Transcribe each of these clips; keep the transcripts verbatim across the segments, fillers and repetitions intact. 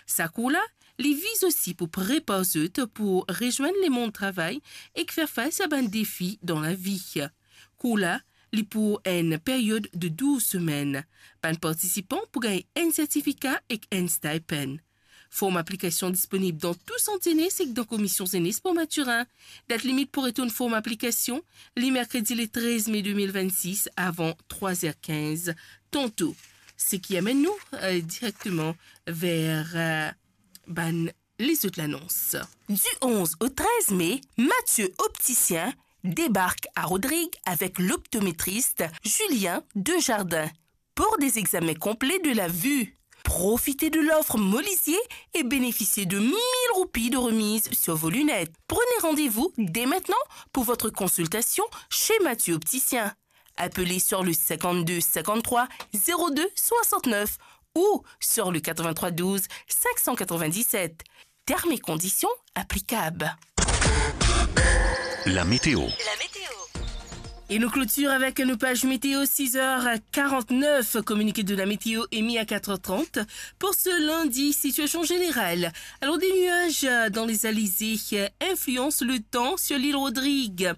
Sa kour la, li viz osi pou prepar zot pou rezwenn lemond travay ek fer fas a bann defi dan lavi. Kour la, li pou enn period de douz semenn. Bann partisipan pou gagn enn sertifika ek enn stipend. Form aplikasion disponib dan tou sant zenes ek dan Komisyon Zenes Port Mathurin. Dat limit pou retourn form aplikasion, li merkredi le trez me de mil vennsis avan trwa zer kinz tanto. Seki amenn nou, eh, direkteman ver, eh, bann lezot lanons. Du onze au treize mai, Mathieu Opticien débarque à Rodrigues avec l'optométriste Julien Dejardin pour des examens complets de la vue. Profitez de l'offre Molisier et bénéficiez de mille roupies de remise sur vos lunettes. Prenez rendez-vous dès maintenant pour votre consultation chez Mathieu Opticien. Appelez sur le cinquante-deux cinquante-trois zéro deux soixante-neuf ou sur le quatre-vingt-trois douze cinq cent quatre-vingt-dix-sept. Termes et conditions applicables. La météo. La météo. Et nous clôturons avec nos pages météo, six heures quarante-neuf, communiqué de la météo émis à quatre heures trente. Pour ce lundi, situation générale. Alors, des nuages, euh, dans les alizés, euh, influencent le temps sur l'île Rodrigue.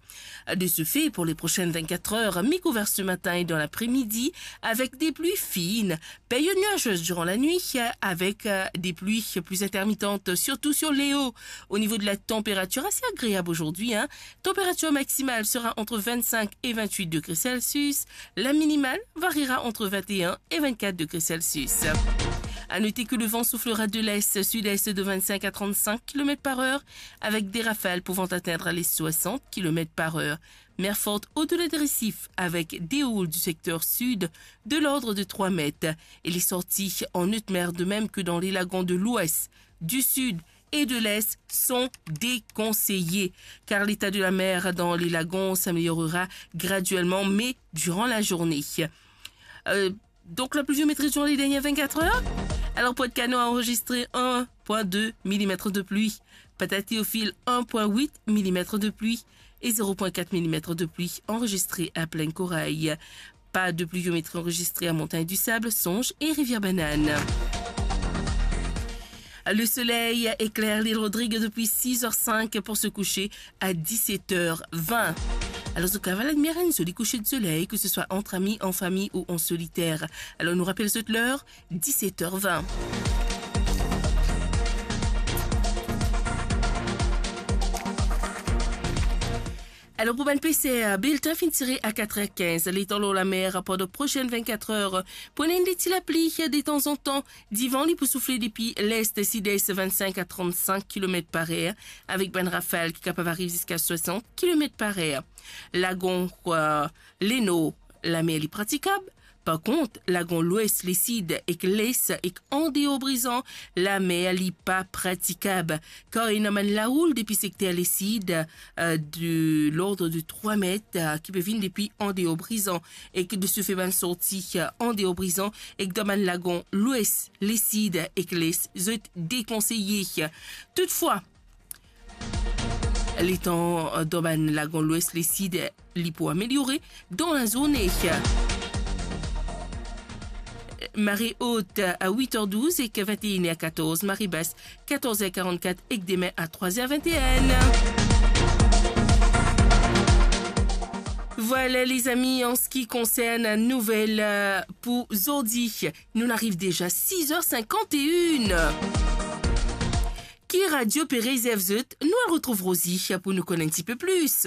De ce fait, pour les prochaines vingt-quatre heures, mi-couvert ce matin et dans l'après-midi, avec des pluies fines. Période nuageuse durant la nuit, euh, avec, euh, des pluies plus intermittentes, surtout sur les hauts. Au niveau de la température, assez agréable aujourd'hui, hein. Température maximale sera entre vingt-cinq et vingt-huit degrés Celsius. La minimale variera entre vingt et un et vingt-quatre degrés Celsius. À noter que le vent soufflera de l'est-sud-est de vingt-cinq à trente-cinq kilomètres par heure, avec des rafales pouvant atteindre les soixante kilomètres par heure. Mer forte au-delà des récifs, avec des houles du secteur sud de l'ordre de trois mètres. Et les sorties en haute mer, de même que dans les lagons de l'ouest, du sud et de l'est, sont déconseillées, car l'état de la mer dans les lagons s'améliorera graduellement, mais durant la journée. Euh, donc la pluviométrie durant les dernières vingt-quatre heures. Alors, Pointe-Canon a enregistré un point deux millimètres de pluie. Port-Théophile, un point huit millimètres de pluie et zéro point quatre millimètres de pluie enregistrés à Plaine-Corail. Pas de pluviométrie enregistrée à Montagne du Sable, Songe et Rivière-Banane. Le soleil éclaire l'île Rodrigues depuis six heures cinq pour se coucher à dix-sept heures vingt. Alors, zot kapav admir enn zoli kouser de soleil, que ce soit entre amis, en famille ou en solitaire. Alors, nou rapel zot ler, dix-sept heures vingt. Alors, pour bann peser, bilten finn tire à quatre heures quinze. Letan lor lamer, pandan prosenn vingt-quatre heures, pou ena enn ti lapli de tanzantan. Divan, li pou soufle depi lest-sidest, vingt-cinq à trente-cinq kilomètres par heure, avek bann rafal ki kapav ariv ziska soixante kilomètres par heure. Lagon, kwa, lenor, lamer li pratikab. Par kont, lagon lwes, lesid ek les ek andeor Brizan, lamer li pa pratikab, kar ena bann laoul depi sekter lesid, euh, de l'ordre de trois mètres, euh, ki pe vinn depi andeor Brizan, ek de se fe bann sorti, euh, andeor Brizan, ek dan bann lagon lwes, lesid ek les, zot dekonseye. Toutfwa, letan, euh, dan bann lagon lwes, lesid, li pou ameliore dan lazourne. Mare ot a wit er douz ek vinteen er katorz, mare bas katorz er karannkat ek demin a trwa er vinteen. Vwala, lezami, an se ki konsern nouvel, euh, pou zordi, nou ariv deza sis er sinkant-e-enn. Ki radio pe rezerv zot? Nou al retrouv Rosie pou nou konn enn tipe plis.